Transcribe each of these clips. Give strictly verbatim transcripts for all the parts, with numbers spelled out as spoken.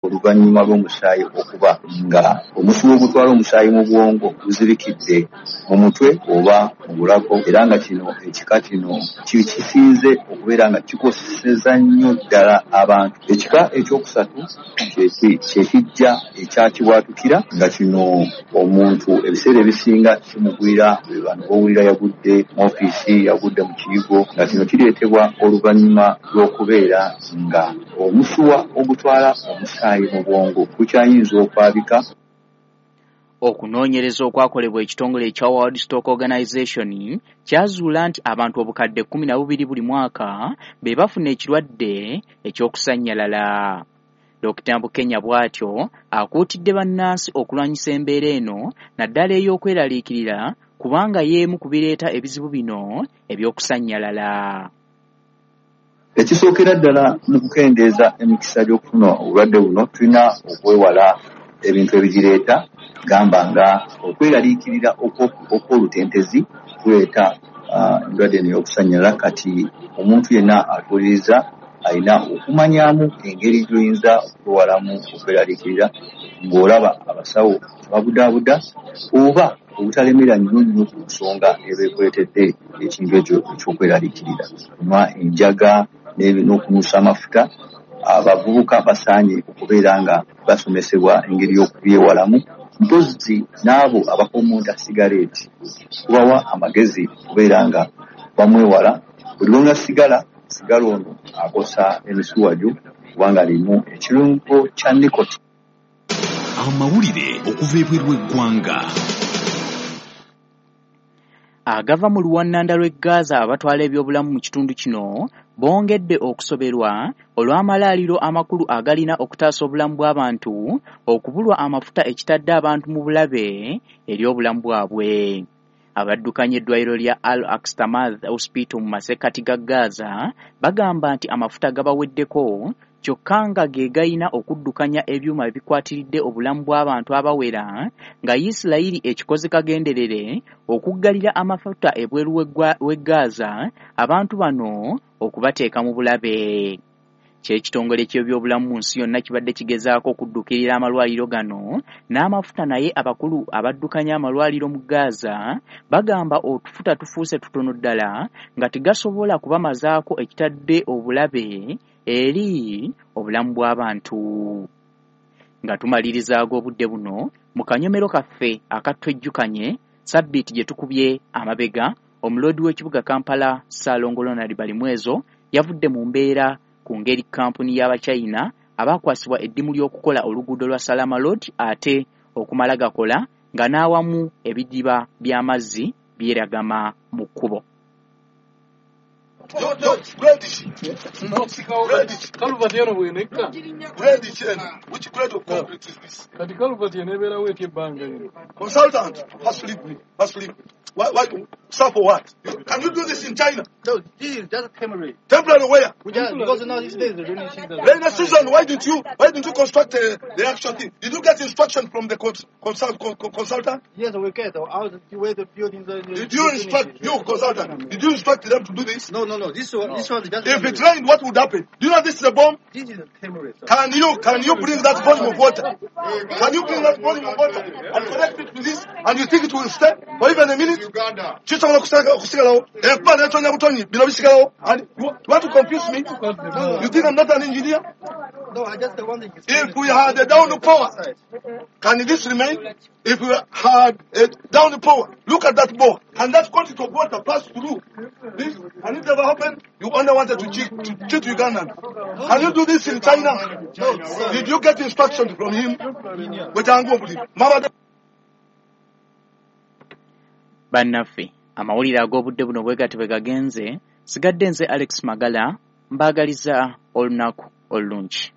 Oluvannyuma lw'omusaayi okuba nga omusuwa ogutwala omusaayi mu bwongo guzibikidde mu mutwe oba mu bulago, era nga kino ekika kino kisinze okubeera nga kikoseza nnyo ddala abantu. Ekika ekyokusatu kye kijja ekyakibwatukira, nga kino omuntu ebiseera ebisinga kimugwira bano b'owulira yagudde mu ofiisi, yagudde mu kiyigo, nga kino kireetebwa oluvannyuma lw'okubeera nga omusuwa ogutwala omusaayi mu bwongo gukyayinza okwabika. Okunoonyereza okwakolebwa ekitongole ekya World Stock Organization kyazuula nti abantu obukadde kkumi na bubiri buli mwaka be bafuna ekirwadde eky'okusannyalala. Dokita Bukenya bw'atyo akuutidde bannansi okulwanyisa embeera eno naddala ey'okweraliikirira, kubanga y'emu ku bireeta ebizibu bino eby'okusannyalala. Ekisookera ddala mu kukendeeza emikisa gy'okufuna obulwadde buno, tulina okwewala ebintu ebigireeta, gamba nga okweraliikirira okw'olutentezi kuleeta endwadde eno ey'okusannyalala. Kati omuntu yenna atuuliriza alina okumanyamu engeri gy'oyinza okwewalamu okweraliikirira ng'olaba abasawo babudaabuda oba obutalemera nnyo nnyo ku nsonga eba ekuleetedde ekintu ekyo eky'okweraliikirira. Kunywa enjaga n'okunuusa amafuta, abavubuka basaanye okubeera nga basomesebwa engeri y'okubyewalamu, mpozzi n'abo abakomonta sigareeti kubawa amagezi okubeera nga bamwewala. Buli lw'onywa sigala, sigala ono akosa emisuwa gyo kubanga alimu ekirungo kya nikotini. Amawulire okuva ebweru w'eggwanga. Agava mu luwannanda lw'e Gaza abatwala ebyobulamu mu kitundu kino bongedde okusoberwa olw'amalwaliro amakulu agalina okutaasa obulamu bw'abantu okubulwa amafuta ekitadde abantu mu bulabe eri obulamu bwabwe. Abaddukanya eddwaliro lya Al Aqsa Hospital mu masekkati ga Gaza bagamba nti amafuta gabaweddeko, kyokka nga ge galina okuddukanya ebyuma ebikwatiridde obulamu bw'abantu abawera, nga Yisirayiri ekikoze kagenderere okuggalira amafuta ebweru w'e Gaza abantu bano okubateeka mu bulabe. Ky'ekitongole ky'ebyobulamu mu nsi yonna kibadde kigezaako okuddukirira amalwaliro gano n'amafuta, naye abakulu abaddukanya amalwaliro mu Gaza bagamba otufuta tufuuse tutono ddala nga tegasobola kubamazaako ekitadde obulabe eri obulamu bw'abantu. Nga tumaliriza ag'obudde buno mu kanyomero kaffe akatwejjukanye sabbiiti gye tukubye amabega, omuloodi w'ekibuga Kampala Ssaalongo Ronald Balimwezo yavudde mu mbeera ku ngeri kkampuni y'Abachina abaakwasibwa eddimu ly'okukola oluguudo lwa Salama Road ate okumala gakola nga n'awamu ebidiba by'amazzi byeragama mu kkubo. No, no, grade no, grade Kaluvati eno bwenekka. Grade which grade of concrete is this? Kati kaluvati enebeerawo etya ebbanga lino? Consultant, first leave me, first leave me. Why, why, sir, for what? Can you do this in China? No, this is just temporary. Temporary where? We just, because now these days the rainy season. Rainy season, why didn't you, why didn't you construct uh, the actual thing? Did you get instruction from the consult, consultant? Yes, we get. Out the way the building. The, the did you instruct, you consultant, did you instruct them to do this? No, no, no. This one, this one is just If temporary. It rained, what would happen? Do you know this is a bomb? This is a temporary. Sir. Can you, can you bring that volume of water? Can you bring that volume of water and connect it to this? And you think it will stay for even a minute? Uganda. Kisobola kusigalawo. Enkuba n'etonya butonyi, bino bisigalawo. And you want to confuse me? You think I'm not an engineer? No, I just want to explain. If we had a downpour, can this remain? If we had a downpour, look at that bore. Can that quantity of water pass through this? Can it ever happen? You only wanted to cheat, to cheat Ugandan. Can you do this in China? No, sir. Did you get instructions from him? Bannaffe, amawulire ag'obudde buno bwe gati bwe gagenze. Sigadde nze Alex Magala, mbaagaliza olunaku olulungi.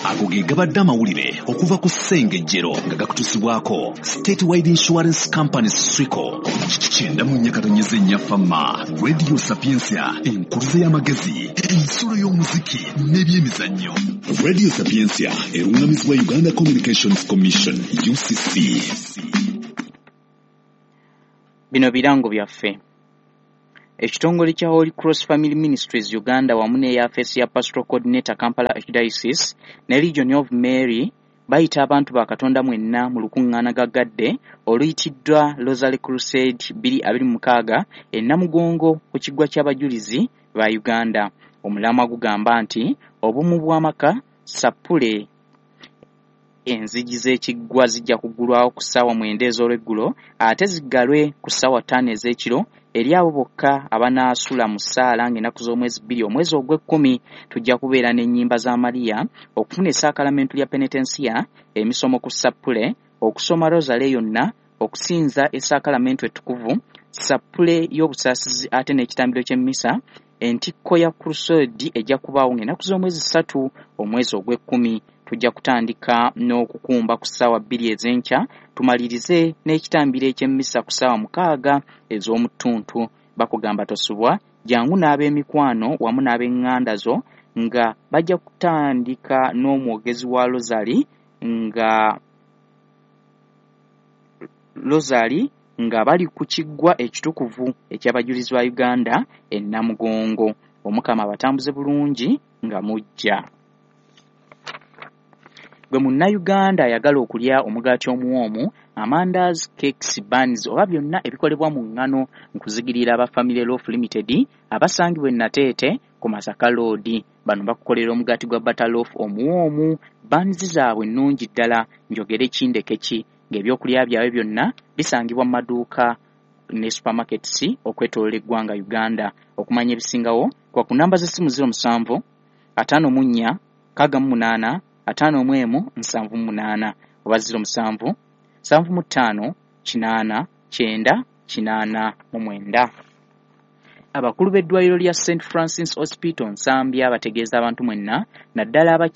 Ago ge gabadde amawulire okuva ku Ssengejjero nga gakutusibwako State Wide Insurance Company Swico. Kyenda mu nnya katonyeze nnya Fama, Radio Sapientia, enkuluze y'amagezi, ensulo y'omuziki n'ebyemizannyo. Radio Sapientia erungamizibwa Uganda Communications Commission U C C. Bino birango byaffe. Ekitongole kya Holy Cross Family Ministries Uganda wamu n'eyafeesi ya Pastoral Coordinator Kampala Archdiocese ne Legion of Mary bayita abantu ba Katonda mwenna mu lukuŋŋaana gaggadde oluyitiddwa Rosary Crusade bbiri abiri mu mukaaga e Namugongo ku kiggwa ky'abajulizi ba Uganda. Omulamwa gugamba nti obumu bw'amaka sappule. Enzigi z'ekiggwa zijja kuggulwawo ku ssaawa mwenda ez'olweggulo ate ziggalwe ku ssaawa ttaano ez'ekiro eri abo bokka abanaasula mu ssaala ng'ennaku z'omwezi bbiri omwezi ogw'ekkumi. Tujja kubeera n'ennyimba za Maria, okufuna essaakalamentu lya penetensiya, emisomo ku sappule, okusoma rosale yonna, okusinza essaakalamentu ettukuvu, sappule y'obusaasizi ate n'ekitambiro ky'emmisa. Entikko ya crusade ejja kubaawo ng'ennaku z'omwezi ssatu omwezi ogw'ekkumi. Tujja kutandika n'okukumba ku ssaawa bbiri ez'enkya tumalirize n'ekitambiro eky'emmisa ku ssaawa mukaaga ez'omuttuntu. Bakugamba tosubwa, jangu n'ab'emikwano wamu n'ab'eŋŋanda zo nga bajja kutandika n'omwogezi wa Rosary nga Rosary nga bali ku kiggwa ekitukuvu eky'abajulizi ba Uganda e Namugongo. Omukama abatambuze bulungi nga mujja. Gwe munnayuganda ayagala okulya omugaati omuwoomu, amandaazi, cakes, buns oba byonna ebikolebwa mu ŋŋano, nkuzigirira aba Family Loaf Limited abasangibwa e Nateete ku Masaka Road. Bano bakukolera omugaati gwa butter loaf omuwoomu, buns zaabwe nnungi ddala, njogere kindeke ki, ng'ebyokulya byabwe byonna bisangibwa mu maduuka ne supermarkets okwetooloola eggwanga Uganda. Okumanya ebisingawo kwa ku namba z'essimu ziro musanvu ataano mu nnya nkaaga mu munaana ataano mu emu nsanvu mu munaana oba ziro musanvu nsanvu mu ttaano kinaana kyenda kinaana mu mwenda. Abakulu b'eddwaliro lya Saint Francis Hospital Nsambya bategeeza abantu mwenna naddala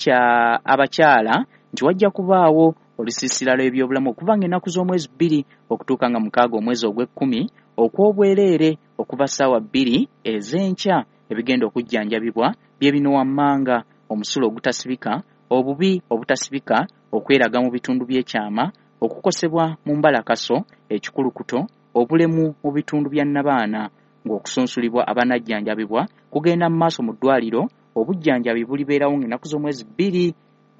abakyala nti wajja kubaawo olusiisira lw'ebyobulamu okuva ng'ennaku z'omwezi bbiri okutuuka nga mukaaga omwezi ogw'ekkumi okw'obwereere okuva ssaawa bbiri ez'enkya. Ebigenda okujjanjabibwa bye bino wammanga: omusulo ogutasibika, obubi obutasibika, okweraga mu bitundu by'ekyama, okukosebwa mu mbalakaso, ekikulukuto, obulemu mu bitundu bya nnabaana. Ng'okusunsulibwa abanajjanjabibwa kugenda mu maaso mu ddwaliro, obujjanjabi bulibeerawo ng'ennaku z'omwezi bbiri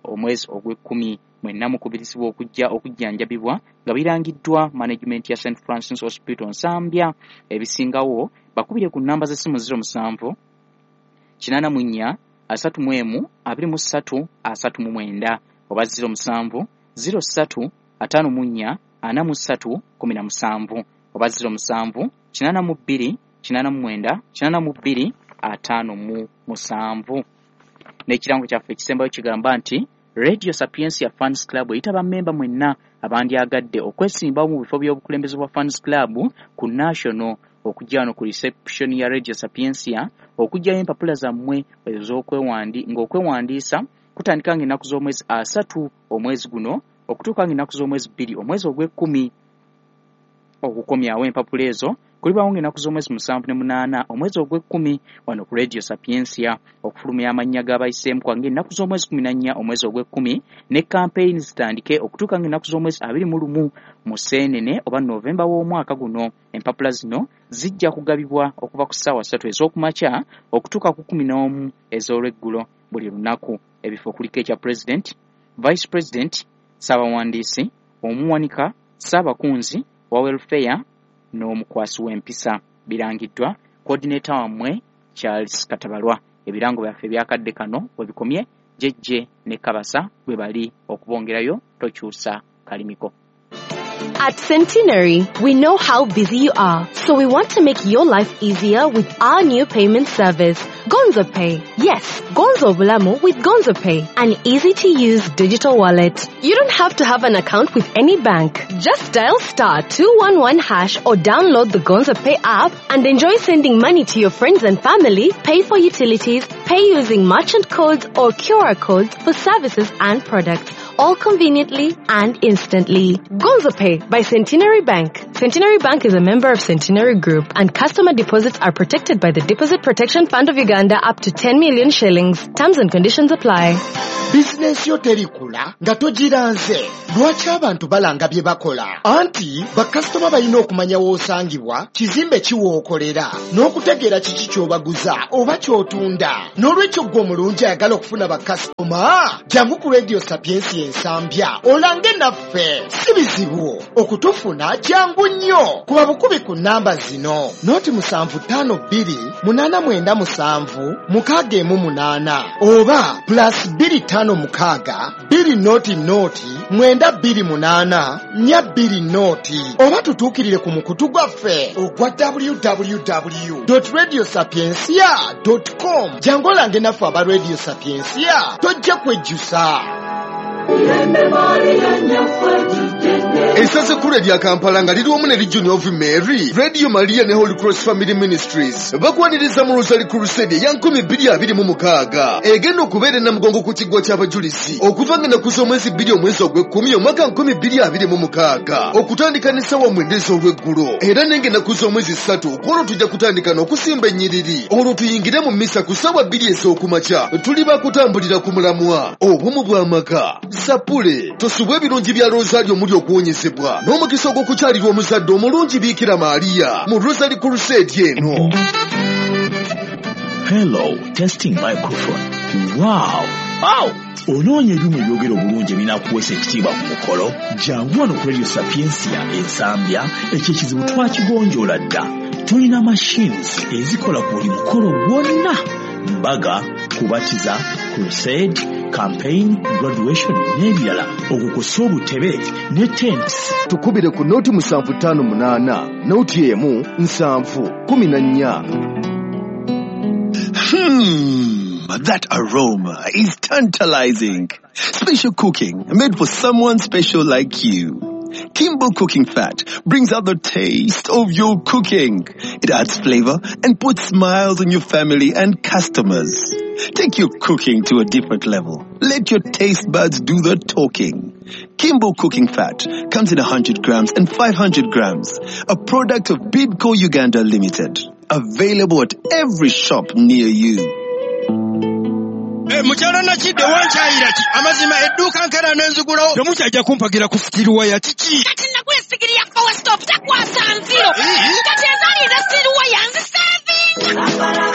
omwezi ogw'ekkumi. Mwenna mukubirizibwa okujja okujjanjabibwa nga birangiddwa management ya Saint Francis Hospital Nsambya. Ebisingawo bakubire ku nnamba z'essimu ziro musanvu kinaana mu nnya asatu mu emu abiri mu ssatu asatu mu mwenda oba ziro musanvu ziro ssatu ataano mu nnya ana mu ssatu kumi na musanvu oba ziro musanvu kinaana mu bbiri kinaana mu mwenda kinaana mu bbiri ataano mu musanvu. N'ekirango kyaffe ekisembayo kigamba nti Radio Sapientia Fans Club eyita bammemba mwenna abandyagadde okwesimbawo mu bifo by'obukulembeze bwa Fans Club ku National okujja wano ku reception ya Radio Sapientia okuggyayo empapula zammwe ez'okwewandi ng'okwewandiisa kutandika ng'ennaku z'omwezi asatu omwezi guno okutuuka ng'ennaku z'omwezi bbiri omwezi ogw'ekkumi. Okukomyawo empapula ezo kulibaawo ng'ennaku z'omwezi musanvu ne munaana omwezi ogw'ekkumi wano ku Radio Sapientia. Okufulumya amannya g'abayiseemu kwa ng'ennaku z'omwezi kumi na nnya omwezi ogw'ekkumi ne campaign zitandike okutuuka ng'ennaku z'omwezi abiri mu lumu mu Seenene oba Novemba w'omwaka guno. Empapula zino zijja kugabibwa okuva ku ssaawa ssatu ez'okumakya okutuuka ku kkumi n'omu ez'olweggulo buli lunaku. Ebifo kuliko ekya President, Vice President, Ssaabawandiisi, Omuwanika, Ssaabakunzi wa Welfare n'omukwasi w'empisa. Birangiddwa coordinator wammwe Charles Katabalwa. Ebirango byaffe ebyakadde kano we bikomye. Jejje ne Kabasa bwe bali okubongerayo. Tokyusa kalimiko. At Centenary, we know how busy you are, so we want to make your life easier with our new payment service, Gonzo Pay. Yes, Gonzo Bulamu with Gonzo Pay, an easy-to-use digital wallet. You don't have to have an account with any bank. Just dial star two one one hash or download the Gonzo Pay app and enjoy sending money to your friends and family, pay for utilities, pay using merchant codes or Q R codes for services and products, all conveniently and instantly. Gonzo Pay by Centenary Bank. Centenary Bank is a member of Centenary Group, and customer deposits are protected by the Deposit Protection Fund of Uganda up to ten million shillings. Terms and conditions apply. Bizinensi yo terikula nga togiranze. Lwaki abantu balanga bye bakola? Anti bakasitoma balina okumanya w'osangibwa, kizimbe ki w'okolera, n'okutegeera kiki ky'obaguza oba ky'otunda. N'olwekyo ggwe omulungi ayagala okufuna bakasitoma, jangu ku Radio Sapiensia Ensambya olange naffe. Si bizibu okutufuna, jangu nnyo. Kuba bukubi ku nnamba zino: noti musanvu ttaano bbiri munaana mwenda musanvu mukaaga emu munaana oba plus bbiri ttaano mukaaga bbiri noti noti mwenda bbiri munaana nnya bbiri noti, oba tutuukirire ku mukutu gwaffe ogwa w w w radio sapiencia com. Jangu olange naffe aba Radio Sapiencia, tojja kwejjusa. Essaza ekkulu erya Kampala nga liri wamu ne Legion of Mary, Radio Maria ne Holy Cross Family Ministries bakwaniriza mu Rosary Crusade eya nkumi bbiri abiri mu mukaaga egenda okubeera e Namugongo ku kiggwa ky'abajulizi okuva nga ennaku z'omwezi bbiri omwezi ogw'ekkumi omwaka nkumi bbiri abiri mu mukaaga okutandika n'essaawa mwenda ez'olweggulo. Era nenga ennaku z'omwezi ssatu kwolwo tujja kutandika n'okusimba ennyiriri, olwo tuyingire mu misa ku ssaawa bbiri ez'okumakya. Tuli bakutambulira ku mulamwa obumu bw'amaka. Sapule tosubwa ebirungi bya Rosario omuli okuwonyezebwa n'omukisa ogw'okukyalirwa omuzadde omulungi Biikira Maaliya mu Rosary Crusade eno. Hello, testing microphone. Wow! Wow! Onoonya ebyuma ebyogera obulungi ebinaakuweesa ekitiibwa ku mukolo? Jangu wano ku Radio Sapiencia Ensambya, ekyo ekizibu twakigonjoola dda. Tulina machines ezikola ku buli mukolo gwonna: mbaga, kubatiza, crusade, campaign, graduation n'ebirala, okwo kw'ossa obutebe ne tents. Tukubire ku noti musanvu ttaano munaana noti emu nsanvu kumi na nnya. Hmm, that aroma is tantalizing. Special cooking made for someone special like you. Kimbo Cooking Fat brings out the taste of your cooking. It adds flavor and puts smiles on your family and customers. Take your cooking to a different level. Let your taste buds do the talking. Kimbo Cooking Fat comes in one hundred grams and five hundred grams. A product of Bidco Uganda Limited. Available at every shop near you. Mukyala Nakidde, wankyayira ki? Amazima edduuka nkera n'enzigulawo temukyajja kumpagira ku steel wire, kiki? Kati nagula esigiri ya Power Stop, takwasa nziro. Kati ezaali eza steel wire nzisevinga.